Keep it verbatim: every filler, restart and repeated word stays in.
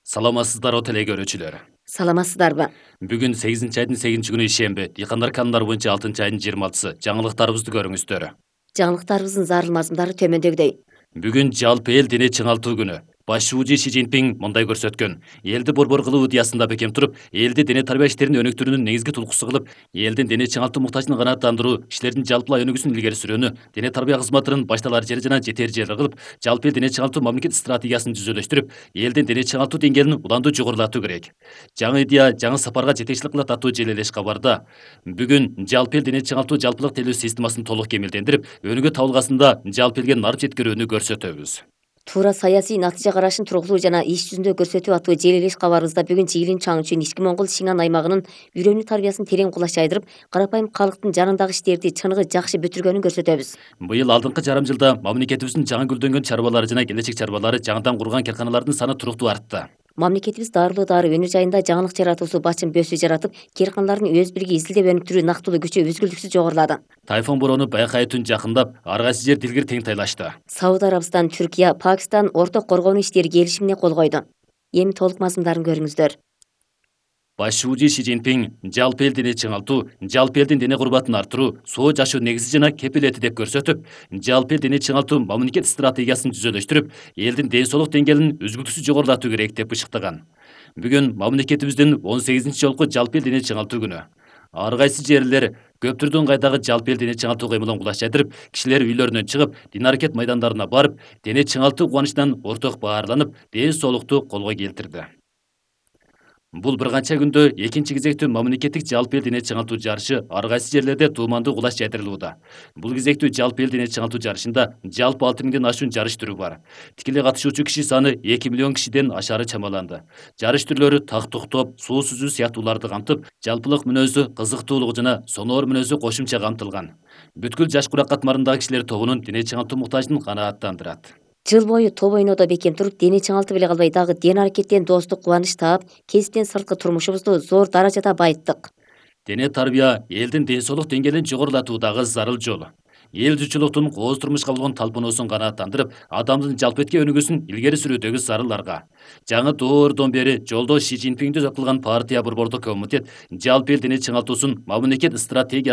Саламатсыздарбы теле көрүүчүлөр. Саламатсыздарбы? Бүгүн сегизинчи айдын сегизинчи күнү ишемби, дыйкандар канундары боюнча алтынчы айдын жыйырма алтысы. Жаңылыктарыбызды көрүңүздөр. Жаңылыктарыбыздын зарыл мазмундары төмөндөгүдөй. Бүгүн жалпы эл дене чыңалтуу күнү. Баш шүүжү Ши Цзиньпин мындай көрсөткөн. Элди борбор кылуу идеясында бекем туруп, элди дене тарбия иштерин өнүктүрүүнүн негизги тулкусу кылып, элдин дене чыңалтуу муктажын канааттандыруу, кишилердин жалпылай өнүгүүсүн илгери сурүүнү, дене тарбия кызматынын башталар жери жана жетер жери кылып, жалпы эл дене чыңалтуу мамлекет стратегиясын жүзөлөштүрүп, элдин дене чыңалтуу деңгээлин уланду жогорулатуу керек. Жаңы идея жаңы сапарга жетекчилик кылат аттуу желелеш кабарда. Бүгүн жалпы эл дене чыңалтуу жалпылык телөө системасын толук кемелдендирип, өнүгө табылгасында жалпы элге нарып жеткирүүнү көрсөтөбүз. Туура саясий натыйжа карашын тургузуу жана иш жүзүндө көрсөтүү аттуу желелеш кабарыбызда бүгүн Жыйылын чаң үчүн ички Моңгол Сиңан аймагынын үйрөнүү тарбиясын терең кулаш жайдырып, карапайым калктын жанындагы иштерди чыныгы жакшы бүтүргөнүн көрсөтөбүз. Быйыл алдыңкы жарым жылда мамлекетибиздин жаңы гүлдөнгөн чарбалары жана келечек чарбалары жаңыдан курган карканалардын саны туруктуу артты. Мамлекетибиз дарылуу дары өнөр жайында жаңылык жаратуусу бачын бөсү жаратып, карканалардын өз бириги изилдеп өнүктүрүү нактылуу күчү үзгүлтүксүз жогорулады. Тайфун бороону байкай түн жакындап, ар кайсы жер дилгир тең тайлашты. Сауд Арабистан, Түркия, Пакистан орток коргонуу иштери келишимине кол койду. Эми толук мазмундарын көрүңүздөр. Баш шүүжү Ши Цзиньпин жалпы эл дене чыңалтуу, жалпы элдин дене курбатын арттыруу, соо жашоо негизи жана кепилети деп көрсөтүп, жалпы эл дене чыңалтуу мамлекет стратегиясын жүзөлөштүрүп, элдин ден соолук деңгээлин үзгүлтүксүз жогорулатуу керек деп ышыктаган. Бүгүн мамлекетибиздин он сегизинчи жолку жалпы эл дене чыңалтуу күнү. Ар кайсы жерлер көптүрдүн кайдагы жалпы эл дене чыңалтуу кыймылын кулаш жайдырып, кишилер үйлөрүнөн чыгып, дин аракет майдандарына барып, дене чыңалтуу кубанычынан орток баарланып, ден соолукту колго келтирди. Бул бир канча күндө экинчи кезектүү мамлекеттик жалпы эл дене чыңалтуу жарышы ар кайсы жерлерде туумандуу кулаш жайдырылууда. Бул кезектүү жалпы эл дене чыңалтуу жарышында жалпы алты миңден ашуун жарыш түрү бар. Тикелей катышуучу киши саны эки миллион кишиден ашаары чамаланды. Жарыш түрлөрү так токтоп, суу сүзүү сыяктууларды камтып, жалпылык мүнөзү, кызыктуулугу жана соноор мүнөзү кошумча камтылган. Бүткүл жаш курак катмарындагы кишилер тобунун дене чыңалтуу муктажын канааттандырат. Жыл бою топ ойнодо бекем туруп, дене чыңалтып эле калбай дагы ден аракеттен достук кубаныч таап, кесиптен сырткы турмушубузду зор даражада байыттык. Дене тарбия элдин ден соолук деңгээлин жогорулатуудагы зарыл жол. Эл журтчулуктун кооз турмушка болгон талпынуусун канааттандырып, адамдын жалпы этке өнүгүүсүн илгери сүрүүдөгү зарылдарга. Жаңы доордон бери жолдош Ши Цзиньпинди кылган партия борбордук комитет жалпы эл дене чыңалтуусун мамлекет стратегиясы